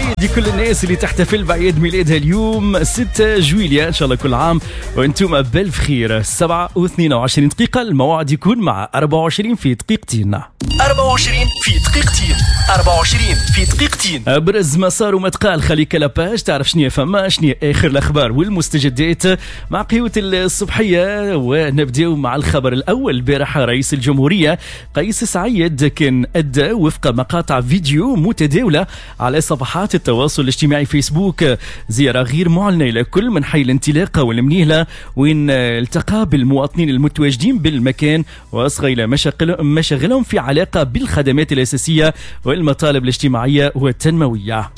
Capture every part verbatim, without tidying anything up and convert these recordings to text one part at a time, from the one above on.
سعيد لكل الناس اللي تحتفل بعيد ميلادها اليوم ستة جويلية، إن شاء الله كل عام وأنتم بالف خير. سبعة واثنين وعشرين دقيقة، الموعد يكون مع أربعة وعشرين في دقيقتين. أربعة وعشرين في دقيقتين، أربعة وعشرين في دقيقتين. أبرز ما صار وما تقال، خليك la page تعرف شنو فما، شنو آخر الأخبار والمستجدات مع قهوة الصبحية. ونبدأ مع الخبر الأول. البارحة رئيس الجمهورية قيس سعيد كان أدى وفق مقاطع فيديو متداولة على صفحات التواصل الاجتماعي فيسبوك زيارة غير معلنة إلى كل من حي الانطلاقة والمنيهلة، وين التقى بالمواطنين المتواجدين بالمكان وأصغى إلى مشاغلهم في علاقة بالخدمات الأساسية والمطالب الاجتماعية والتنموية.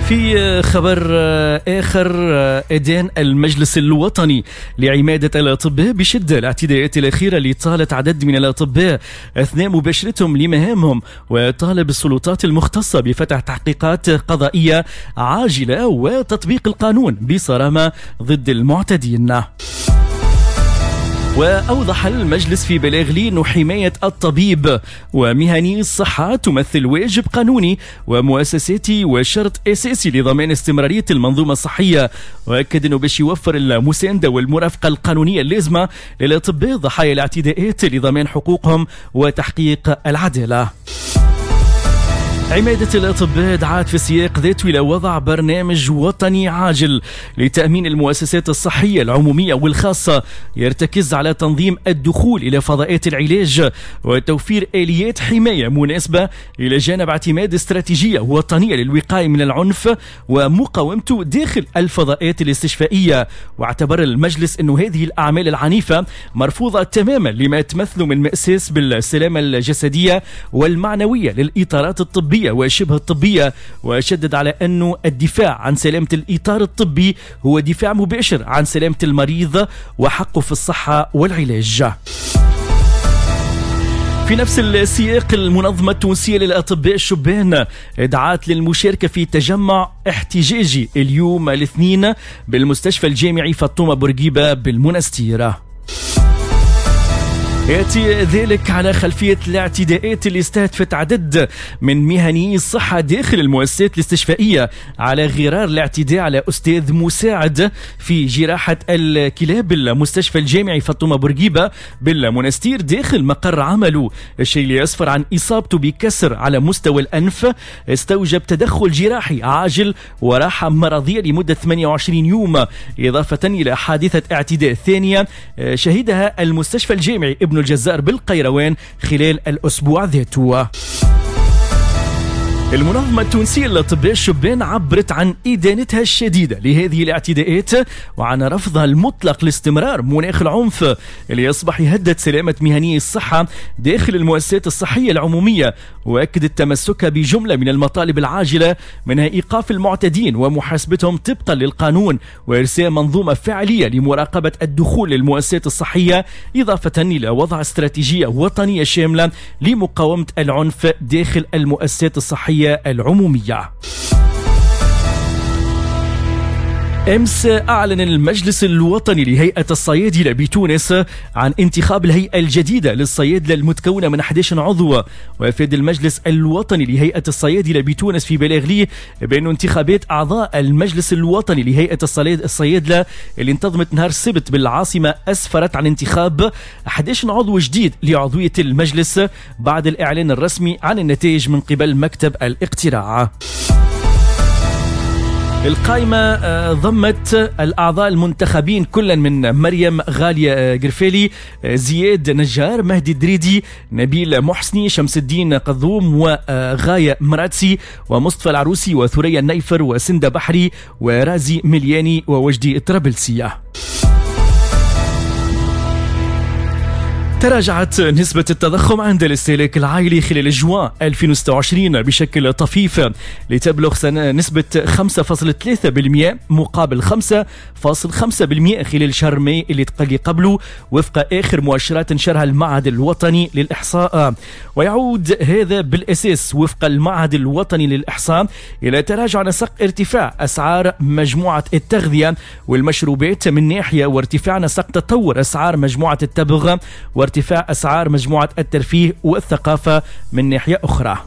في خبر آخر، أدان المجلس الوطني لعمادة الأطباء بشدة الاعتداءات الأخيرة اللي طالت عدد من الأطباء أثناء مباشرتهم لمهامهم، وطالب السلطات المختصة بفتح تحقيقات قضائية عاجلة وتطبيق القانون بصرامة ضد المعتدين. وأوضح المجلس في بلاغ لي أن حماية الطبيب ومهني الصحة تمثل واجب قانوني ومؤسساتي وشرط أساسي لضمان استمرارية المنظومة الصحية، وأكد أنه باش يوفر المساندة والمرافقة القانونية اللازمة للأطباء ضحايا الاعتداءات لضمان حقوقهم وتحقيق العدالة. عمادة الأطباء دعت في السياق ذاته إلى وضع برنامج وطني عاجل لتأمين المؤسسات الصحية العمومية والخاصة يرتكز على تنظيم الدخول إلى فضاءات العلاج وتوفير آليات حماية مناسبة، إلى جانب اعتماد استراتيجية وطنية للوقاية من العنف ومقاومته داخل الفضاءات الاستشفائية. واعتبر المجلس أن هذه الأعمال العنيفة مرفوضة تماما لما تمثل من مأساة بالسلامة الجسدية والمعنوية للإطارات الطبية وشبه الطبية، وشدد على أن الدفاع عن سلامة الإطار الطبي هو دفاع مباشر عن سلامة المريض وحقه في الصحة والعلاج. في نفس السياق، المنظمة التونسية للأطباء الشبان دعت للمشاركة في تجمع احتجاجي اليوم الاثنين بالمستشفى الجامعي فاطمة بورقيبة بالمنستير. يأتي ذلك على خلفية الاعتداءات اللي استهدفت عدد من مهني الصحة داخل المؤسسات الاستشفائية، على غرار الاعتداء على أستاذ مساعد في جراحة الكلاب بالمستشفى الجامعي فاطمة بورقيبة بالمنستير داخل مقر عمله، الشيء اللي أسفر عن إصابته بكسر على مستوى الأنف استوجب تدخل جراحي عاجل وراحة مرضية لمدة ثمانية وعشرين يوم، إضافة إلى حادثة اعتداء ثانية شهدها المستشفى الجامعي ابن الجزائر بالقيروان خلال الأسبوع ذاته. المنظمة التونسية للأطباء الشبان عبرت عن إدانتها الشديدة لهذه الاعتداءات وعن رفضها المطلق لاستمرار مناخ العنف اللي يصبح يهدد سلامة مهني الصحة داخل المؤسسات الصحية العمومية، وأكدت تمسكها بجملة من المطالب العاجلة منها إيقاف المعتدين ومحاسبتهم طبقا للقانون وإرساء منظومة فعلية لمراقبة الدخول للمؤسسات الصحية، إضافة إلى وضع استراتيجية وطنية شاملة لمقاومة العنف داخل المؤسسات الصحية العمومية. أمس أعلن المجلس الوطني لهيئة الصيادلة بتونس عن انتخاب الهيئة الجديدة للصيادلة المتكونة من أحد عشر عضو. وأفاد المجلس الوطني لهيئة الصيادلة بتونس في بلاغ ليه بأن انتخابات أعضاء المجلس الوطني لهيئة الصيادلة اللي انتظمت نهار السبت بالعاصمة أسفرت عن انتخاب أحد عشر عضو جديد لعضوية المجلس بعد الإعلان الرسمي عن النتائج من قبل مكتب الاقتراع. القائمة ضمت الأعضاء المنتخبين كلا من مريم غالية قرفالي، زياد نجار، مهدي دريدي، نبيل محسني، شمس الدين قذوم، وغاية مراتسي، ومصطفى العروسي، وثريا النيفر، وسندة بحري، ورازي ملياني، ووجدي الطرابلسية. تراجعت نسبة التضخم عند الاستهلاك العائلي خلال جوان ألفين وستة وعشرين بشكل طفيف لتبلغ سنة نسبة خمسة فاصلة ثلاثة بالمئة مقابل خمسة فاصلة خمسة بالمئة خلال شهر ماي اللي قبله، وفق آخر مؤشرات نشرها المعهد الوطني للإحصاء. ويعود هذا بالأساس وفق المعهد الوطني للإحصاء إلى تراجع نسق ارتفاع أسعار مجموعة التغذية والمشروبات من ناحية، وارتفاع نسق تطور أسعار مجموعة التبغ وارتفاع أسعار مجموعة الترفيه والثقافة من ناحية أخرى.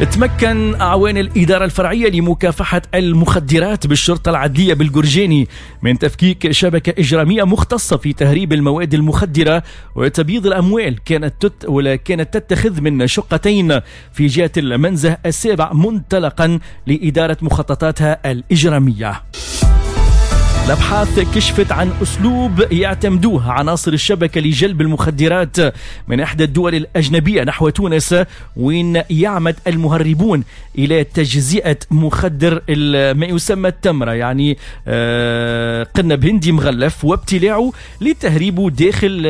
تمكن أعوان الإدارة الفرعية لمكافحة المخدرات بالشرطة العدلية بالجرجاني من تفكيك شبكة إجرامية مختصة في تهريب المواد المخدرة وتبييض الأموال كانت تت ولا كانت تتخذ من شقتين في جهة المنزه السابع منطلقا لإدارة مخططاتها الإجرامية. الأبحاث كشفت عن أسلوب يعتمدوه عناصر الشبكة لجلب المخدرات من إحدى الدول الأجنبية نحو تونس، وين يعمد المهربون إلى تجزئة مخدر ما يسمى التمرة، يعني قنب هندي مغلف، وابتلاعه لتهريبه داخل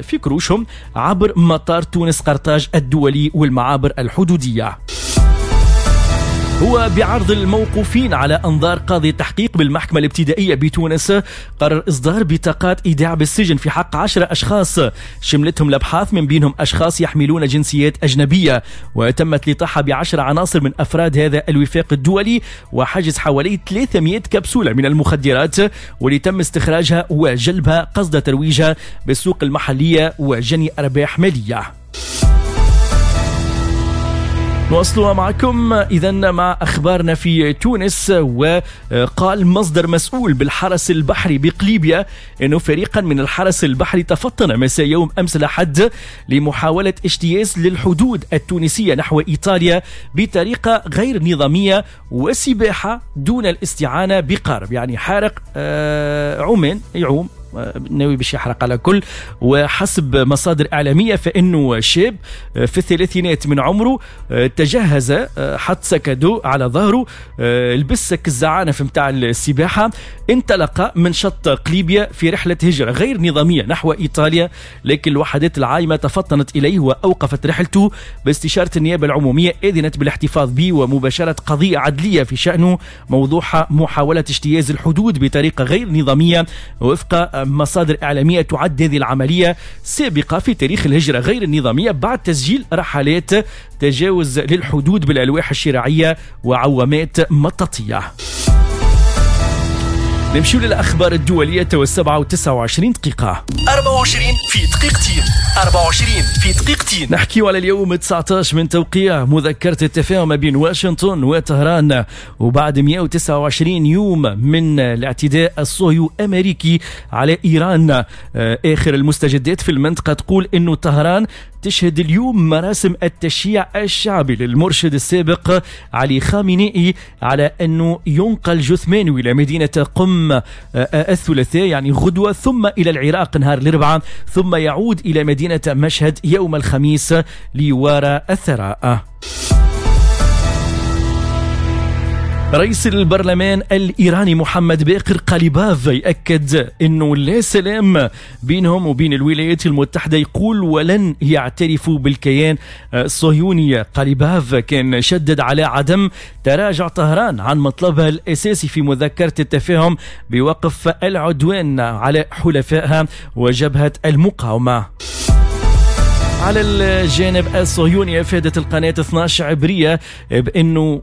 في كروشهم عبر مطار تونس قرطاج الدولي والمعابر الحدودية. هو بعرض الموقوفين على أنظار قاضي التحقيق بالمحكمة الابتدائية بتونس قرر إصدار بطاقات إيداع بالسجن في حق عشرة أشخاص شملتهم الأبحاث، من بينهم أشخاص يحملون جنسيات أجنبية، وتمت الإطاحة بعشر عناصر من أفراد هذا الوفاق الدولي وحجز حوالي ثلاثمئة كبسولة من المخدرات واللي تم استخراجها وجلبها قصد ترويجها بالسوق المحلية وجني أرباح مالية. نواصلها معكم إذن مع أخبارنا في تونس. وقال مصدر مسؤول بالحرس البحري بقليبيا أنه فريقا من الحرس البحري تفطن مساء يوم أمس الأحد لمحاولة اجتياز للحدود التونسية نحو إيطاليا بطريقة غير نظامية وسباحة دون الاستعانة بقارب، يعني حارق عمان يعوم ناوي باش يحرق على كل. وحسب مصادر إعلامية فإنه شاب في الثلاثينات من عمره تجهز، حط سكادو على ظهره، لبس سك الزعانف متاع السباحة، انطلق من شط قليبيا في رحلة هجرة غير نظامية نحو إيطاليا، لكن الوحدات العايمة تفطنت إليه وأوقفت رحلته باستشارة النيابة العمومية، أذنت بالاحتفاظ به ومباشرة قضية عدلية في شأنه موضوعها محاولة اجتياز الحدود بطريقة غير نظامية. وفق مصادر إعلامية تعد هذه العملية سابقة في تاريخ الهجرة غير النظامية بعد تسجيل رحلات تجاوز للحدود بالألواح الشراعية وعوامات مطاطية. نمشي للأخبار الدولية والسبعة وتسعة وعشرين دقيقة. أربعة وعشرين في دقيقتين، أربعة وعشرين في دقيقتين. نحكي على اليوم تسعة عشر من توقيع مذكرة التفاهم ما بين واشنطن وطهران، وبعد مئة وتسعة وعشرين يوم من الاعتداء الصهيو أمريكي على إيران. آخر المستجدات في المنطقة تقول أنه طهران تشهد اليوم مراسم التشييع الشعبي للمرشد السابق علي خامنئي على أنه ينقل جثمانه إلى مدينة قم الثلاثاء يعني غدوة، ثم إلى العراق نهار الأربعاء، ثم يعود إلى مدينة مشهد يوم الخميس ليوارى الثراء. رئيس البرلمان الإيراني محمد باقر قاليباف يأكد أنه لا سلام بينهم وبين الولايات المتحدة، يقول ولن يعترفوا بالكيان الصهيوني. قاليباف كان شدد على عدم تراجع طهران عن مطلبها الأساسي في مذكرة التفاهم بوقف العدوان على حلفائها وجبهة المقاومة. على الجانب الصهيوني أفادت القناة اثنا عشر عبرية بأنه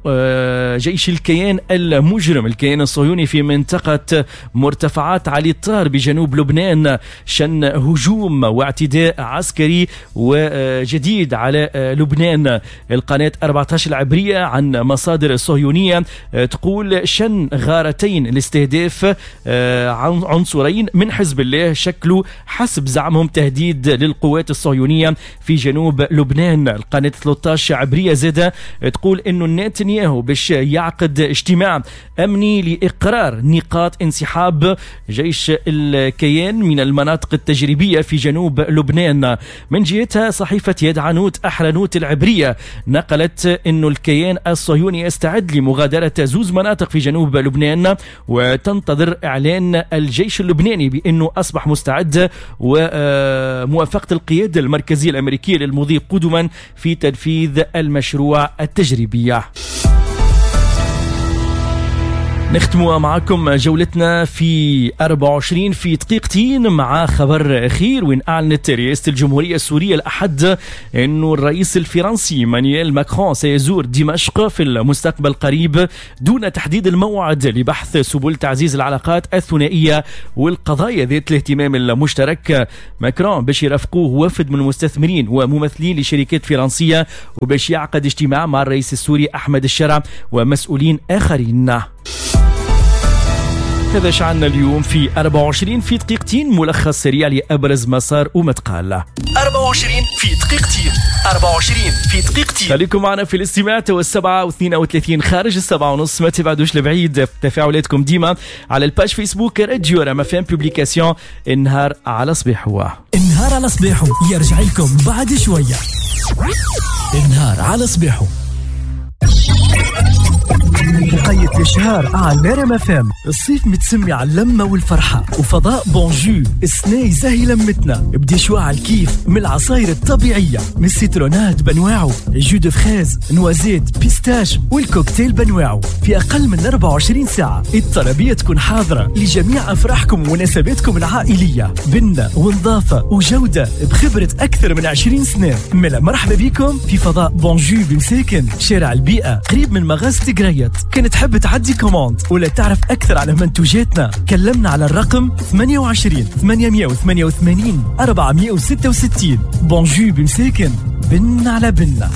جيش الكيان المجرم الكيان الصهيوني في منطقة مرتفعات علي الطار بجنوب لبنان شن هجوم واعتداء عسكري وجديد على لبنان. القناة أربعة عشر العبرية عن مصادر صهيونية تقول شن غارتين لاستهداف عنصرين من حزب الله شكلوا حسب زعمهم تهديد للقوات الصهيونية في جنوب لبنان. القناة ثلاثة عشر عبرية زادة تقول انه نتنياهو باش يعقد اجتماع امني لاقرار نقاط انسحاب جيش الكيان من المناطق التجريبية في جنوب لبنان. من جهتها صحيفة يدعنوت أحرنوت العبرية نقلت انه الكيان الصهيوني يستعد لمغادرة زوز مناطق في جنوب لبنان، وتنتظر اعلان الجيش اللبناني بانه اصبح مستعد وموافقة القيادة المركزية الأمريكية للمضي قدما في تنفيذ المشروع التجريبي. نختم معكم جولتنا في أربعة وعشرين في دقيقتين مع خبر أخير، وإن أعلنت رئاسة الجمهورية السورية الأحد أن الرئيس الفرنسي مانويل ماكرون سيزور دمشق في المستقبل القريب دون تحديد الموعد لبحث سبل تعزيز العلاقات الثنائية والقضايا ذات الاهتمام المشترك. ماكرون باش يرافقوه وفد من المستثمرين وممثلين لشركات فرنسية، وباش يعقد اجتماع مع الرئيس السوري أحمد الشرع ومسؤولين آخرين. هذا شعنا اليوم في أربعة وعشرين في دقيقتين، ملخص سريع لأبرز مسار ومتقال. أربعة وعشرين في دقيقتين، أربعة وعشرين في دقيقتين. خليكم معنا في الاستماع تو السبعة واثنين وثلاثين خارج السبعة ونص، ما تبعدوش لبعيد. تفاعلاتكم ديما على ال page فيسبوك راديو رام اف ام publication. النهار على صبيحة، النهار على صبيحة يرجع لكم بعد شوية. النهار على صبيحة وقيت الشهر على رام اف ام. الصيف متسمي على اللمة والفرحة وفضاء بونجو السنة يزهي لمتنا ب des choix على الكيف من العصاير الطبيعية، من ال citronnade بنواعو، jus de fraise، noisette، pistache والكوكتيل بنواعو في أقل من أربعة وعشرين ساعة. الطلبية تكون حاضرة لجميع أفراحكم ومناسباتكم العائلية، بنة ونظافة وجودة بخبرة أكثر من عشرين سنة. ملا مرحبا بكم في فضاء بونجو بمساكن شارع البيئة قريب من مغازة قريت. كان تحب تعدي commande ولا تعرف أكثر على منتوجاتنا كلمنا على الرقم ثمانية وعشرين ثمانمائة وثمانية وثمانين أربعمائة وستة وستين. بونجو بمساكن، بن على بنا.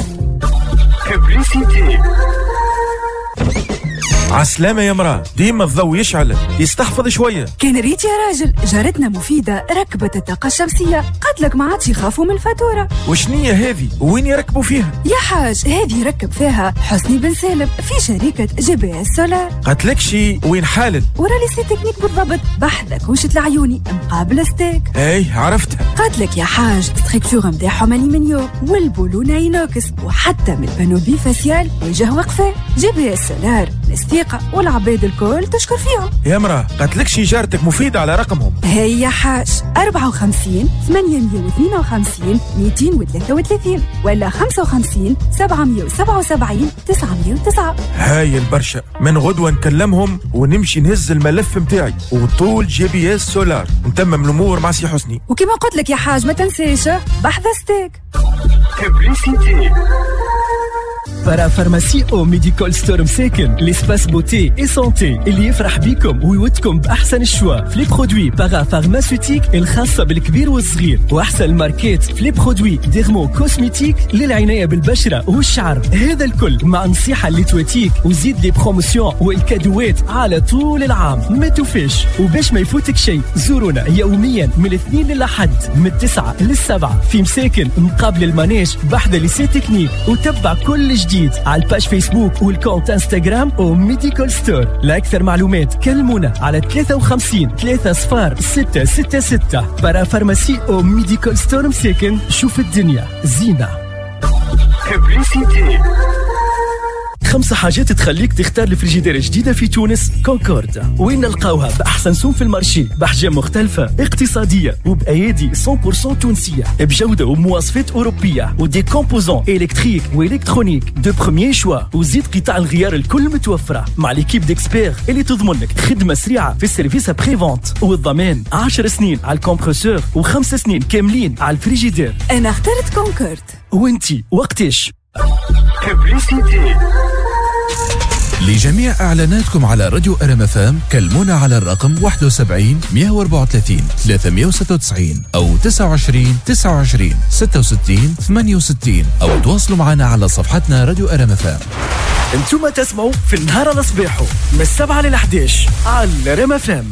عسلامة يا مرأة، ديما الضوء يشعل، يستحفظ شوية. كان ريت يا راجل، جارتنا مفيدة ركبت الطاقة الشمسية، قالت ما عادش يخافوا من الفاتورة. وشنية هذه؟ وين يركبوا فيها؟ يا حاج هذه ركب فيها حسني بن سالم في شركة جي بي اس سولار. قالت شي وين حالل؟ ورا lycée technique بالضبط، بحذا كوشة العيوني مقابل ستيك. اي عرفتها. قالت لك يا حاج structure نتاعهم الومنيوم والبولونة inox، وحتى من ال panneau bifacial وجه وقفة. جي بي اس سولار الثقة والعباد الكل تشكر فيهم. يا مرأة قالت شي جارتك مفيدة على رقمهم. هي يا حاج أربعة وخمسين ثمانمائة واثنين وخمسين مئتين وثلاثة وثلاثين ولا خمسة وخمسين سبعمائة وسبعة وسبعين تسعمائة وتسعة. هاي البرشا، من غدوة نكلمهم ونمشي نهز الملف متاعي وطول جي بي اس سولار نتمم الأمور مع سي حسني. وكما قلت لك يا حاج ما تنساش بحذا ستيك. Parapharmacie او ميديكال ستور مساكن، l'espace beauté et santé اللي يفرح بيكم ويودكم باحسن ال choix في les produits parapharmaceutiques الخاصة بالكبير والصغير، واحسن الماركات في les produits dermo-cosmétiques للعنايه بالبشره والشعر. هذا الكل مع نصيحة اللي تواتيك وزيد les promotions والكادوات على طول العام ما توفيش. وباش ما يفوتك شيء زورونا يوميا من الاثنين للأحد من التسعة للسبعه في مساكن مقابل ال manège بحذا lycée technique، وتبع كل جديد على ال page فيسبوك وال compte انستغرام وميديكال ستور. لأكثر معلومات كلمونا على ثلاثة وخمسين ثلاثة صفر ستة ستة ستة. Parapharmacie او ميديكال ستور مساكن، شوف الدنيا زينة. خمسة حاجات تخليك تختار الفريجيدير الجديدة في تونس كونكورد، وين نلقاوها بأحسن سوم في ال marché، بأحجام مختلفة اقتصادية وبأيادي مية بالمية تونسية، بجودة ومواصفات أوروبية و des composants électriques و électroniques de premier choix، وزيد قطع الغيار الكل متوفرة مع l'équipe d'experts اللي تضمن لك خدمة سريعة في ال service après-vente والضمان عشر سنين على ال compresseur وخمس سنين كاملين على الفريجيدير. أنا اخترت كونكورد. وانتي وقتش؟ لجميع إعلاناتكم على راديو أر إم إف إم كلمونا على الرقم واحد وسبعين مئة وأربعة وثلاثين ثلاثمائة وستة وتسعين أو تسعة وعشرين تسعة وعشرين ستة وستين ثمانية وستين أو تواصلوا معنا على صفحتنا راديو أر إم إف إم. انتم تسمعوا في النهار على صباحه من السبعة للأحداش على أر إم إف إم.